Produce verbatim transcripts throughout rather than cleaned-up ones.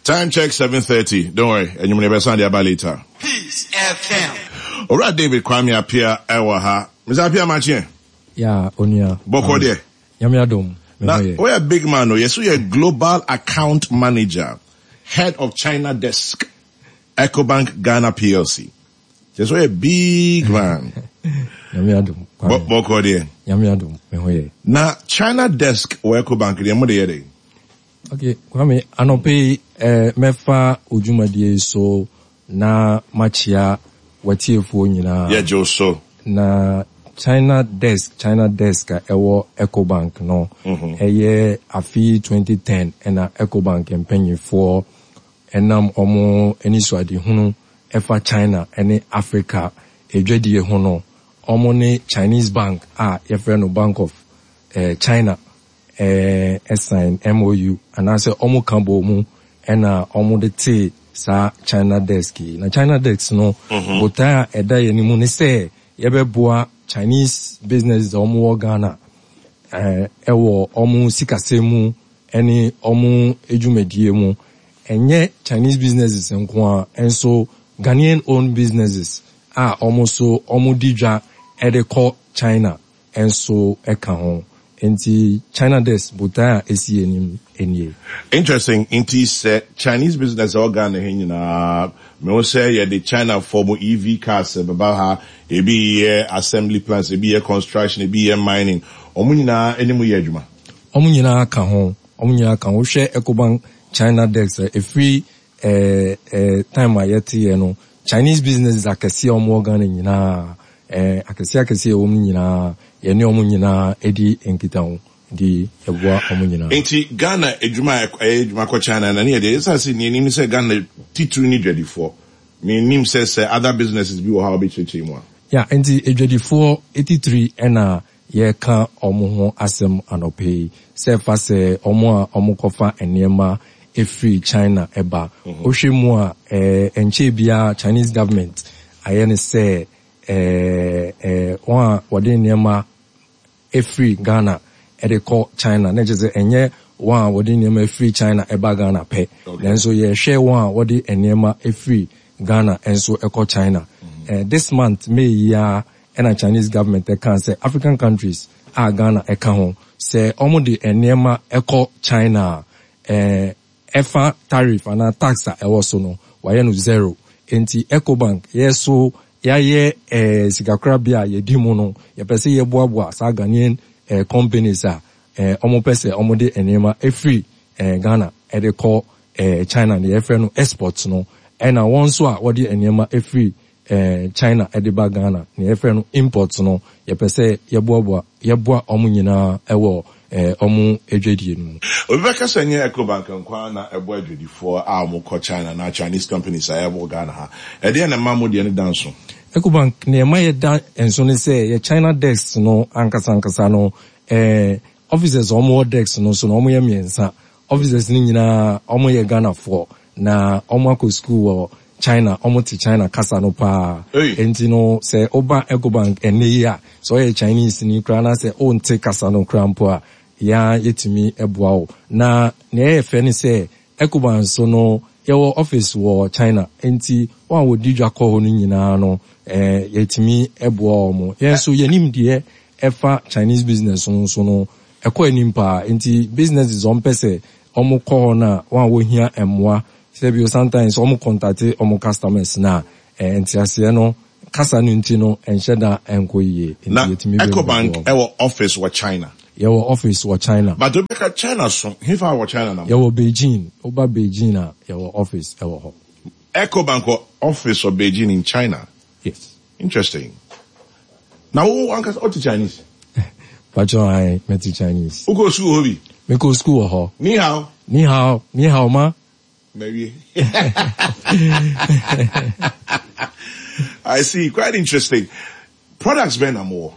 Time check seven thirty. Don't worry, and you may be later. Peace F M. Owura David Kwame Appiah ɛwɔ ha. Mister Appiah, makye. Ya, onua. Bɔkɔ deɛ? Nyame adom. Na woyɛ big man o. Yɛso yɛ global account manager, head of China desk, Ecobank Ghana P L C. Yɛso yɛ big man. Nyame adom. Bɔkɔ deɛ? Nyame adom, me ho yɛ. Na China desk wɔ Ecobank deɛ, mo de yɛ dɛ? Okay, Kwame, anɔpɛ yi, eh, mɛfa odwumadie so na makyia watiefoɔ nyinaa. Yɛgye wo so. Na China desk, China desk a ɛwɔ Ecobank no, ɛyɛ afe twenty ten ɛna Ecobank mpanyinfoɔ ɛnam ɔmo anisoadehunu ɛfa China ɛne Africa edwadie ho no, ɔmo ne Chinese bank a yɛfrɛ no Bank of eh, China ɛɛ ɛsign M O U anaasɛ ɔmo ka bɔ mu ɛna ɔmo de tee saa China desk yi. Na China desk no, botae a ɛda yɛn anim ne sɛ yɛbɛboa Chinese business a ɔmo wɔ Ghana ɛɛ ɛwɔ ɔmo sikasɛm mu ɛne ɔmo edwumadie mu. Ɛnyɛ Chinese businesses nko a, nso Ghanaian owned businesses a ɔmo nso ɔmo di dwa ɛde kɔ China nso ɛka ho. Nti China desk botae a esi anim nie. Interesting. Nti sɛ Chinese business a ɛwɔ Ghana ha nyinaa, mehu sɛ yɛde China fɔ mo E V cars bɛba ha, ebi yɛ assembly plants, ebi yɛ construction, ebi yɛ mining, ɔmo nyinaa anim yɛ adwuma? Ɔmo nyinaa ka ho, ɔmo nyinaa ka ho. Wohwɛ Ecobank China desk a, ɛfiri ɛɛ ɛɛ time a yɛte yɛ no, Chinese businesses akɛseɛ a ɔmo wɔ Ghana nyinaa, ɛɛ akɛseɛ akɛseɛ a ɛwɔ mu nyinaa, yɛne ɔmo nyinaa edi nkitaho de ɛboa ɔmo nyinaa. Nti Ghana adwuma a ɛyɛ adwuma kɔ China na ne yɛ deɛ, ɛsiane sɛ nea anim sɛ Ghana titiri ne dwadifoɔ, menim sɛ sɛ other businesses bi wɔ ha a wobɛkyerɛkyerɛ mu a. Ya, nti adwadifoɔ etitiri ɛna yɛka ɔmo ho asɛm anɔpɛ yi, sɛ fa sɛ ɔmo a ɔmo kɔfa nneɛma efiri China ɛba. Wohwɛ mu a, ɛɛ nkyɛn biara Chinese government ayɛ ne sɛ ɛɛ ɛɛ wɔn a wɔde nneɛma efiri Ghana ɛde kɔ China, na kyerɛ sɛ ɛnyɛ wɔn a wɔde nneɛma efiri China ɛba Ghana pɛ, nanso yɛhwɛ wɔn a wɔde nneɛma efiri Ghana nso ɛkɔ China. ɛɛ this month May yi a, ɛna Chinese government ɛka sɛ African countries a Ghana ɛka ho, sɛ wɔn de nneɛma ɛkɔ China a, ɛɛ ɛfa tariff anaa tax a ɛwɔ so no, wɔayɛ no zero. Nti Ecobank yɛ so yɛayɛ ɛɛ sikakorabea a yɛdi mu no, yɛpɛ sɛ yɛboaboa saa Ghanaian ɛɛ companies a ɛɛ wɔn pɛ sɛ wɔn de nneɛma efiri ɛɛ Ghana ɛde kɔ ɛɛ China, deɛ yɛfrɛ no export no, ɛna wɔn nso a wɔde nneɛma efiri ɛɛ China ɛde ba Ghana, deɛ yɛfrɛ no import no, yɛpɛ sɛ yɛboaboa yɛboa wɔn nyinaa ɛwɔ ɛɛ wɔn adwadie no mu. Obi bɛka sɛ nyɛ Ecobank nkoa na ɛbɔ adwadifoɔ a wɔkɔ China na Chinese companies a ɛwɔ Ghana ha. Ɛdeɛ na ɛma mo deɛ no da nso? Ecobank nneɛma yɛda nso ne sɛ yɛ China desk no ankasa ankasa no, ɛɛ officers a wɔwɔ desk no so no, wɔyɛ mmiɛnsa. Officers no nyinaa wɔyɛ Ghanafoɔ na wɔn akɔ school wɔ China, wɔn te China kasa no paa. Hey. Nti no, sɛ ɔba Ecobank ɛnɛ yi a, sɛ ɔyɛ Chinese ni koraa na sɛ ɔnte kasa no koraa mpo a, yɛa yɛtumi ɛboa wo. Na nea ɛyɛ fɛ ne sɛ Ecobank so no, yɛwɔ office wɔ China, nti wɔn a wɔdi dwa kɔ hɔ no nyinaa no, ɛɛ yɛtumi ɛboa wɔn. Yɛn nso yɛnim deɛ ɛfa Chinese business no nso no ɛkɔ anim paa. Nti businesses wɔn pɛ sɛ wɔn kɔ hɔ no a, wɔn a wɔhia mmoa, sɛbi sometimes wɔn contact wɔn customers na ɛɛ nteaseɛ no, kasa no nti no, ɛnhyɛ da ɛnkɔ yie. Nti Na yɛtumi bɛ Ecobank boa wɔn. ɛwɔ office wɔ China? Yɛwɔ office wɔ China. But obi bɛka China so hefa wɔ China na mo? Yɛwɔ Beijing. Woba Beijing a, yɛwɔ office ɛwɔ hɔ. Ecobank wɔ office wɔ Beijing in China? Yes. Interesting. Na wo ankasa wote Chinese? Patro ayi, mete Chinese. Wokɔ school hɔ bi? Mekɔ school wɔ hɔ. Ni hao? Ni hao, ni hao ma. Mawie. I see. Quite interesting. Products bɛn na mowɔ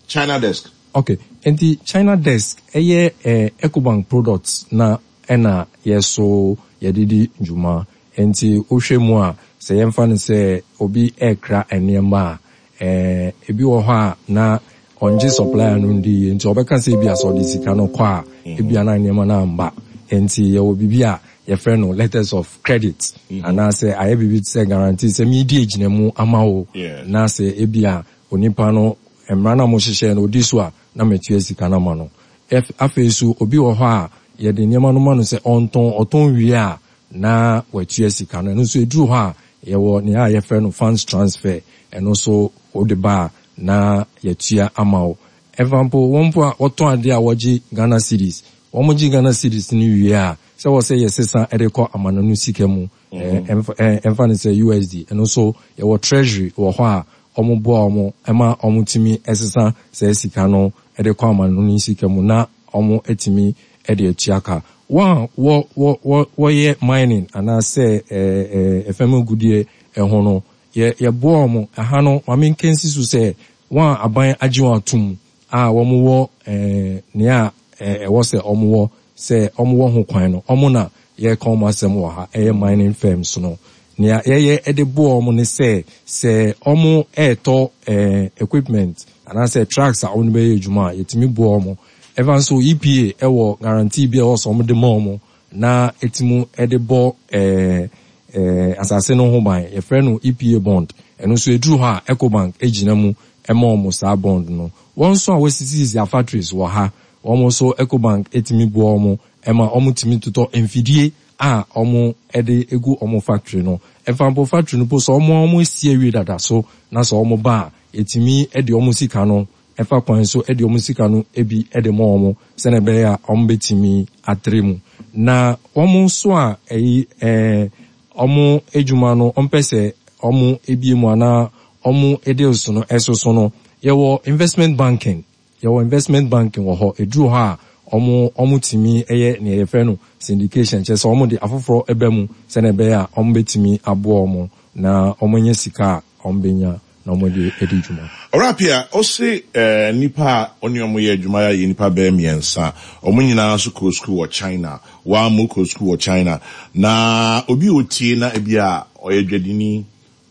China desk? Okay, nti China desk ɛyɛ eh, Ecobank products na ɛna yɛso yɛde di dwuma. Nti wohwɛ mu a, sɛ yɛmfa no sɛ obi ɛrekra nneɛma a, eh, ebi wɔ hɔ a na ɔngye supplier no ndi yie, nti ɔbɛka sɛ ebi a sɛ ɔde sika no kɔ a, ebi a na nneɛma no amba. Nti yɛwɔ biribi a yɛfrɛ no letters of credit anaasɛ ayɛ biribi te sɛ guarantee sɛ meedi agyina mu ama wo, Yeah. na sɛ ebi a onipa no mmara no a mohyehyɛ no odi so a, na matua sika no ama no. Ɛf- afei so obi wɔ hɔ a yɛde nneɛma no ma no sɛ ɔntɔn, ɔtɔn wie a na watua sika no. Ɛno nso ɛduru hɔ a yɛwɔ nea a yɛfrɛ no funds transfer. Ɛno nso wode ba a na yɛtua ama wo. Ɛfa mpo wɔn mpo a wɔtɔn adeɛ a wɔgye Ghana cedis, wɔn gye Ghana cedis no wie a, sɛ wɔ sɛ yɛsesa ɛde kɔ amanano sika mu, ɛɛ, ɛmfa ɛɛ, ɛmfa no sɛ U S D, ɛno nso yɛwɔ treasury wɔ hɔ a wɔn boa wɔn ɛma wɔn tumi ɛsesa saa sika no ɛde kɔ amanano sika mu na wɔn atumi ɛde atua ka. Wɔn a wɔ wɔ wɔ wɔyɛ mining anaasɛ ɛɛ ɛɛ ɛfɛm agudie ɛho no, yɛ yɛboa wɔn ɛha no. Maame nkensi so sɛ wɔn a aban agye wɔn atum a wɔn wɔ ɛɛ nea ɛɛ ɛwɔ sɛ wɔn wɔ sɛ wɔn wɔ ho kwan no, wɔn na yɛreka wɔn asɛm wɔ ha, ɛyɛ mining firms no. Nea yɛyɛ ɛde boa wɔn ne sɛ sɛ wɔn ɛɛtɔ ɛɛ equipment anaasɛ trucks a wɔn bɛyɛ adwuma a, yɛtumi boa wɔn. Ɛfa nso E P A ɛwɔ guarantee bi a ɛwɔ sɛ wɔn de ma wɔn na ɛtumi ɛde bɔ ɛɛ ɛɛ asase no ho ban, yɛfrɛ no E P A bond. Ɛno nso eduru hɔ a Ecobank egyina mu ɛma wɔn saa bond no. Wɔn nso a wɔasisisisi factories wɔ ha, wɔn nso Ecobank etumi boa wɔn ɛma wɔn tumi totɔ mfidie a wɔn ɛde egu wɔn factory no. Ɛfa mpo factory no po sɛ wɔn a wɔn esi awie dada so na sɛ wɔn ba a, etumi ɛde wɔn sika no ɛfa kwan so ɛde wɔn sika no ebi ɛde ma wɔn sɛnɛ ɛbɛyɛ a wɔn bɛtumi atere mu. Na wɔn nso a ɛyi ɛɛ wɔn adwuma no, wɔn pɛ sɛ wɔn ebie mu anaa wɔn deals no ɛsoso no, yɛwɔ investment banking, yɛwɔ investment banking wɔ hɔ. Eduru hɔ a wɔn wɔn tumi ɛyɛ nea yɛfrɛ no syndication, kyerɛ sɛ wɔn de afoforɔ ɛbɛ mu sɛnɛ ɛbɛyɛ a wɔn bɛtumi aboa wɔn na wɔn anya sika a wɔn bɛnya na wɔn de adi dwuma. Ɔrapia ɔse ɛɛ nipa a ɔne ɔmo yɛ adwuma yɛ nipa bɛyɛ mmiɛnsa, ɔmo nyinaa nso kɔ sukuu wɔ China. Wɔn mo kɔ sukuu wɔ China na obi a otie na ebi a ɔyɛ dwadini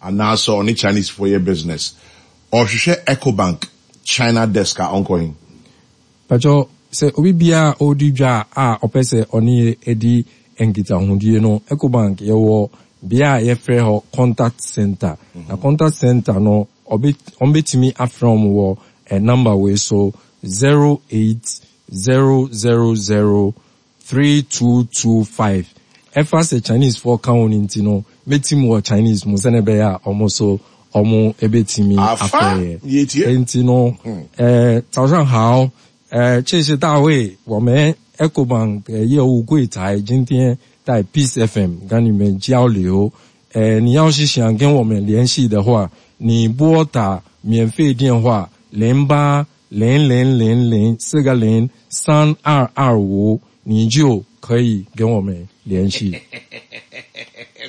anaasɛ ɔne Chinese fo yɛ business, ɔhwehwɛ Ecobank China desk a, ɔnkɔ hin? Pàtó, sɛ obi biara a ɔredi dwa a ɔpɛ sɛ ɔne yɛ edi nkitahodie no, Ecobank yɛwɔ bea a yɛfrɛ hɔ contact center, na contact center no ɔbɛ ɔmbɛtumi afrɛ wɔn wɔ ɛ number wei so: zero eight zero zero zero three two two five. Ɛfa sɛ Chinese foɔ ka ho no nti no, mɛtim wɔ Chinese mu sɛnɛ ɛbɛyɛ a ɔmo so ɔmo ɛbɛtumi Afa, afrɛ yɛtie. yɛ. Nti no呃，早上好，呃，这是大卫，我们 Ecobank 呃业务柜台今天在 Peace F M 跟你们交流。呃，你要是想跟我们联系的话，你拨打免费电话零八零零零零四个零三二二五，你就可以跟我们联系。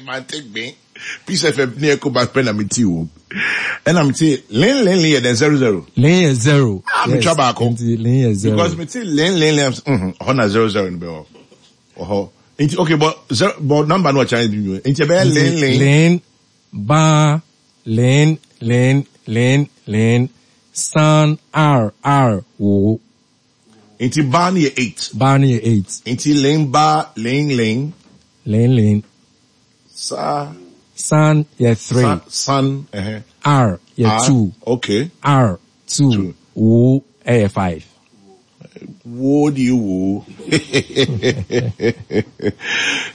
Mante gbin Peace F M ne Ecobank pɛ na mete wo, ɛna mete len len len yɛ dɛn, zero zero? 零yɛ zero. Ah, metwa baako. Nti零yɛ zero. Because mete len len len, mhm ɔhɔ na zero zero no bɛ wɔ ɔhɔ. Nti okay, but zero, but number no wɔ Chinese bi mu, nti ɛbɛyɛ len len 零八零零零零三二二五。 Nti ba no yɛ eight. 八那yɛ eight. Nti len ba len len 零零 sa 三yɛ three. San san ɛhɛn. 二yɛ Ah, two. Okay. 二 two. Two. 五ɛyɛ five. Wo do you woo?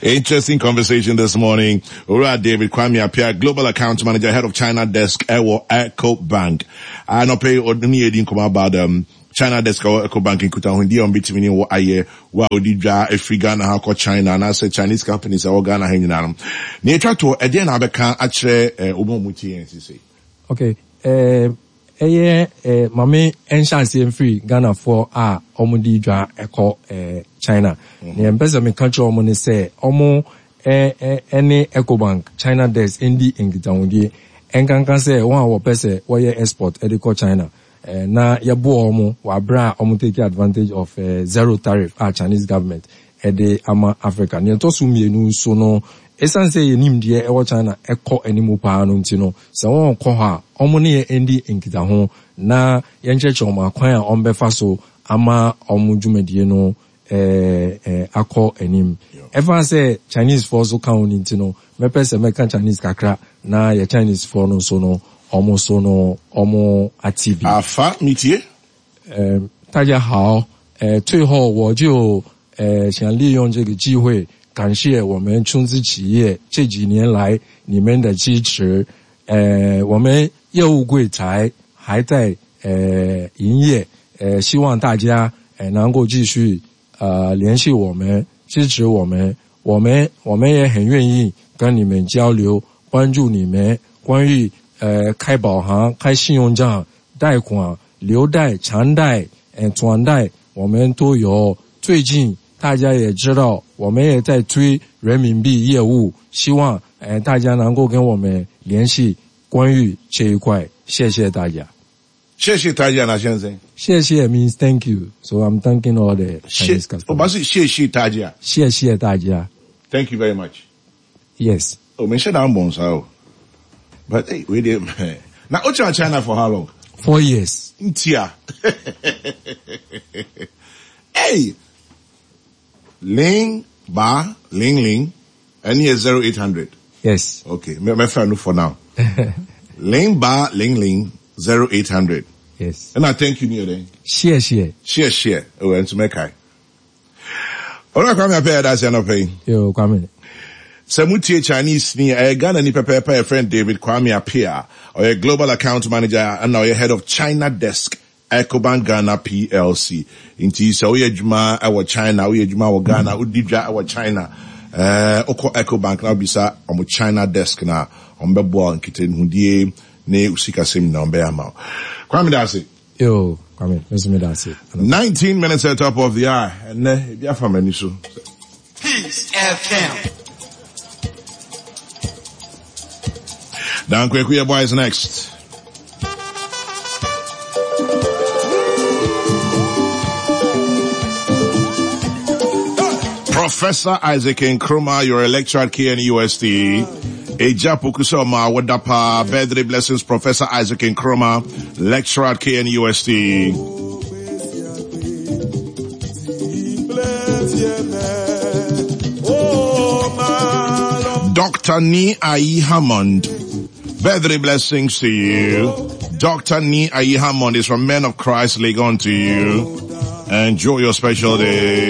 Interesting conversation this morning. Owura David Kwame Appiah, Global Account Manager, Head of China Desk, ɛwɔ Ecobank. Anɔpɛ ɔne yɛ nkɔmɔ about um, China Desk ɛwɔ Ecobank, nkutahodie a ɔmbɛtumi ne wɔ ayɛ wo a ɔdi dwa efiri Ghana ha kɔ China anaasɛ Chinese companies a ɛwɔ Ghana ha nyinaa no. Nea etwa to, ɛdeɛn na abɛka akyerɛ ɛɛ wɔn a wɔn tie yɛn sisi? Okay, ɛɛ ɛyɛ ɛɛ maame ɛnhyɛ aseɛ mfiri Ghanafoɔ a wɔn di dwa ɛkɔ ɛɛ China. Nea mpɛ sɛ meka kyerɛ wɔn ne sɛ wɔn ɛ ɛ ɛne Ecobank China Desk ɛndi nkitahodie, ɛnkanka sɛ wɔn a wɔpɛ sɛ wɔyɛ export ɛde kɔ China, ɛɛ na yɛboa wɔn wɔ abere a wɔn take advantage of ɛɛ zero tariff a Chinese government ɛde ama Africa. Nea ɛtɔ so mmienu nso no, ɛsiane sɛ yɛnim deɛ ɛwɔ China ɛkɔ anim paa no nti no, sɛ wɔn kɔ hɔ a, wɔn ne yɛn ndi nkitaho na yɛnkyerɛkyerɛ wɔn akwan a wɔn bɛfa so ama wɔn dwumadie no. ɛɛ ɛɛ akɔ anim. Ɛfa sɛ Chinese foɔ so ka ho ne nti no, mɛpɛ sɛ mɛka Chinese kakra na yɛ Chinese foɔ no nso no, ɔmo so no ɔmo ate bi. Afa mitie. 呃，大家好，呃，最后我就呃想利用这个机会感谢我们中资企业这几年来你们的支持。呃，我们业务柜台还在呃营业，呃，希望大家呃能够继续呃联系我们，支持我们，我们我们也很愿意跟你们交流，帮助你们关于呃开保行、开信用账、贷款、留贷、长贷、呃转贷，我们都有。最近大家也知道，我们也在推人民币业务，希望呃大家能够跟我们联系关于这一块。谢谢大家。谢谢大家，那先生。谢谢 means thank you. So I'm thanking all the 谢 Chinese，我 customers. 把是谢谢大家。谢谢大家。 Thank you very much. Yes. Oh, mention that one, so. But hey, wait a minute. Now, what's China for how long? Four years. Ntia. Hey, Ling Ba Ling Ling, and here zero eight hundred. Yes. Okay, me me friend for now. Ling Ba Ling Ling zero eight hundred. Yes. And I thank you, Neil. then. 谢谢。 Share share. Oh, and to make I. All right, Kwame Appiah, that's enough. Yo, Kwame. Sɛ motie Chinese ni ɛyɛ Ghana ni pɛpɛɛpɛ yɛ friend David Kwame Appiah, ɔyɛ global account manager ɛna ɔyɛ head of China desk Ecobank Ghana PLC. Nti sɛ woyɛ adwuma ɛwɔ China, woyɛ adwuma wɔ Ghana, wodi dwa ɛwɔ China, ɛɛ wokɔ Ecobank na wobisa ɔmo China desk na ɔmo bɛboa wo nkitahodie ne sikasɛm nyinaa ɔmo bɛyɛ ama wo. Kwame da ase. Yo, Kwame. Mr. Medasi. nineteen minutes at the top of the hour. Ɛnɛ ebi afa m'ani so. Peace FM. Dan Kweku Yeboah is next. Professor Isaac Nkrumah, your lecturer at K N U S T. Eja Pokusoma Wadapa, birthday blessings, Professor Isaac Nkrumah, lecturer at K N U S T. Doctor Ni Ayi Hammond, birthday blessings to you. Doctor Ni Ayi Hammond is from Men of Christ, Legon to you. Enjoy your special day.